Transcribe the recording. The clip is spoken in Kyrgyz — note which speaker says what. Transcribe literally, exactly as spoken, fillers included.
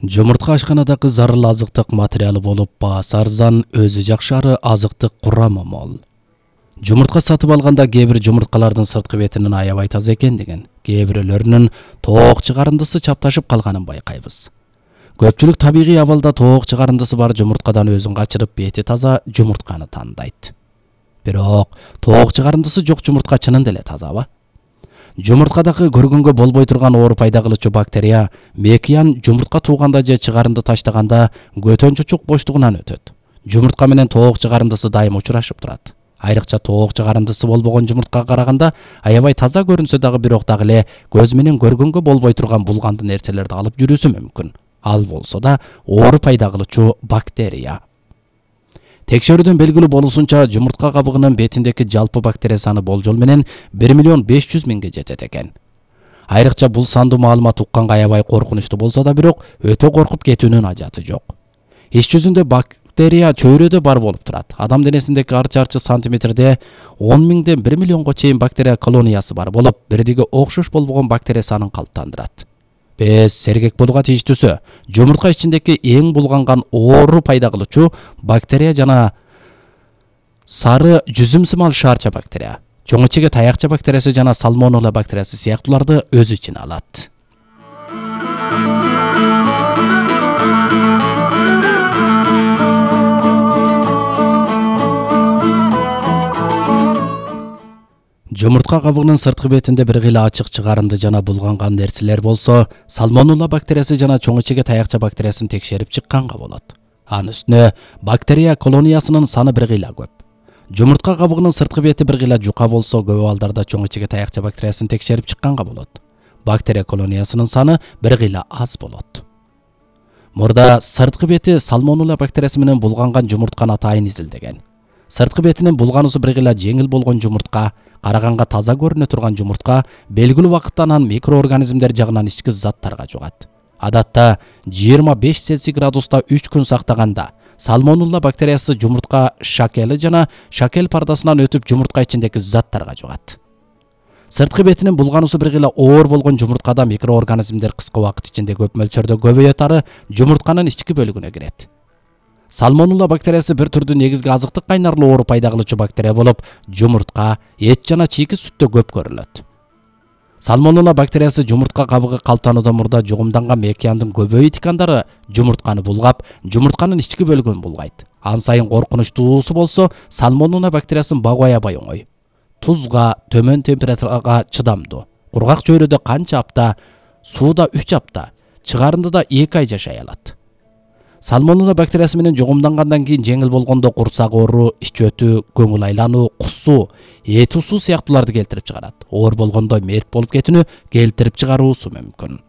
Speaker 1: Жумуртка ашканадагы зарыл азыктык материалы болуп, баасы арзан, өзү жакшы азыктык курамы мол. Жумуртка сатып алганда кээ бир жумурткалардын сырткы бетинин аябай таза экендигин, кээ бирөөлөрүнүн тоок чыгарындысы чапташып калганын байкайбыз. Көпчүлүк табигый абалда тоок чыгарындысы бар жумурткадан өзүн качырып, бети таза жумуртканы тандайт. Бирок тоок чыгарындысы жок жумуртка чынында эле тазабы? Жумурткадагы көргөнгө болбой турган оору пайда кылуучу бактерия мекиян жумуртка тууганда же чыгарынды таштаганда көтөн чучук боштугунан өтөт. Жумуртка менен тоок чыгарындысы дайым учурашып турат. Айрыкча тоок чыгарындысы болбогон жумурткага караганда аябай таза көрүнсө дагы бирок дагы эле көз менен көргөнгө болбой турган булганды нерселерди алып жүрүүсү мүмкүн. Ал болсо да оору пайда кылуучу бактерия. Текшерүүдөн белгилүү болушунча жумуртка кабыгынын бетиндеги жалпы бактерия саны болжол менен бир миллион беш жүз миңге жетет экен. Айрыкча бул сандуу маалымат укканга аябай коркунучтуу болсо да бирок өтө коркуп кетүүнүн ажаты жок. Иш жүзүндө бактерия чөйрөдө бар болуп турат. Адам денесиндеги ар чарчы сантиметрде он миңден бир миллионго чейин бактерия колониясы бар болуп, бирдиги окшош болбогон бактерия санын калыптандырат. Без сергек болууга тийиштүүсү жумуртка ичиндеги эң булганган оору пайда кылуучу бактерия жана сары жүзүмсымал шаарча бактерия, чоң ичеге таякча бактериясы жана сальмонелла бактериясы сыяктууларды өз ичине алат. Жумуртка кабыгынын сырткы бетинде бир кыйла ачык чыгарынды жана булганган нерселер болсо, сальмонелла бактериясы жана чоң ичеге таякча бактериясын текшерип чыкканга болот. Анын үстүнө бактерия колониясынын саны бир кыйла көп. Жумуртка кабыгынын сырткы бети бир кыйла жука болсо, көп абалдарда чоң ичеге таякча бактериясын текшерип чыкканга болот. Бактерия колониясынын саны бир кыйла аз болот. Мурда сырткы бети сальмонелла бактериясы менен булганган жумуртканы атайын изилдеген. Сырткы бетинин булгануусу бир кыйла жеңил болгон жумуртка, караганга таза көрүнө турган жумуртка белгилүү вакыттан анан микроорганизмдер жагынан ички заттарга жугат. Адатта жыйырма беш цельсий градуста үч күн сактаганда сальмонелла бактериясы жумуртка шакели жана шакел пардасынан өтүп жумуртка ичиндеги заттарга жугат. Сырткы бетинин булгануусу бир кыйла оор болгон жумурткада микроорганизмдер кыска убакыт ичинде көп мөлчөрдө көбөйөтары жумуртканын ички бөлүгүнө кирет. Сальмонелла бактериясы бир түрдүү негизги азыктык кайнарлуу оору пайда кылуучу бактерия болуп, жумуртка, эт жана чийки сүттө көп көрүлөт. Сальмонелла бактериясы жумуртка кабыгы калыптануудан мурда жугумданган мекияндын көбөйү тикандары жумуртканы булгап, жумуртканын ички бөлүгүн булгайт. Ан сайын коркунучтуусу болсо, сальмонелла бактериясын багуу аябай оңой. Тузга, төмөн температурага чыдамдуу. Кургак чөйрөдө канча апта, сууда үч апта, чыгарындыда эки ай жашай алат. Сальмонелла бактериясы менен жугумдангандан кийин жеңил болгондо курсак оору, ич өтүү, көңүл айлануу, кусуу, эт усуу сыяктууларды келтирип чыгарат. Оор болгондо мерт болуп кетүүнү келтирип чыгаруусу мүмкүн.